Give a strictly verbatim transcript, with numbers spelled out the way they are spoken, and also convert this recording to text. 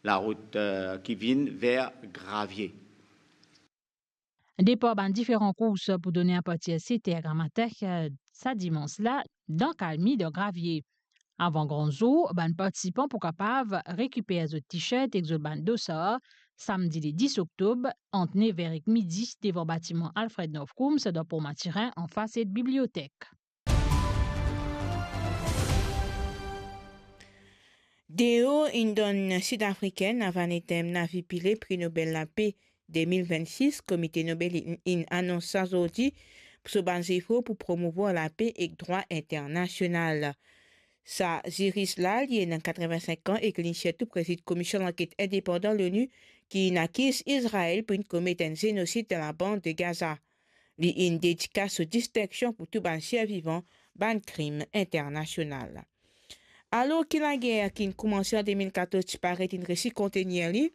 larout, eh, ki vinn ver Gravie. Depar bann diferan kours pou done apartir set er gramatin, eh, sa dimans la, dan kalmi dan Gravie. Avan gran zour, bann partisipan pou kapav rekiper zot t-shirt ek zot bann dosar, samdi le dis oktob, ant nev er ek midi, devan batiman Alfred North Coombs dan Port Mathurin, anfas et bibliotek. Deo inn donn Sid-Afrikenn Avanethem Navi Pillay Pri Nobel Lape de mil vennsis. Komite Nobel inn, inn anons sa zordi so bann zefor pou promouvwar lape ek drwa internasional. Sa ziris la, li ena katreven-sink an ek li sirtou prezid Komisyon Lanket Indepandan Lonu ki inn akiz Izrael pou inn komet enn zenosid dan laband de Gaza. Li inn dedikas so distinksion pou tou bann ser vivan bann krim internasional. Alor ki lager ki inn koumanse an de mil katorz ti paret inn resi kontenir li,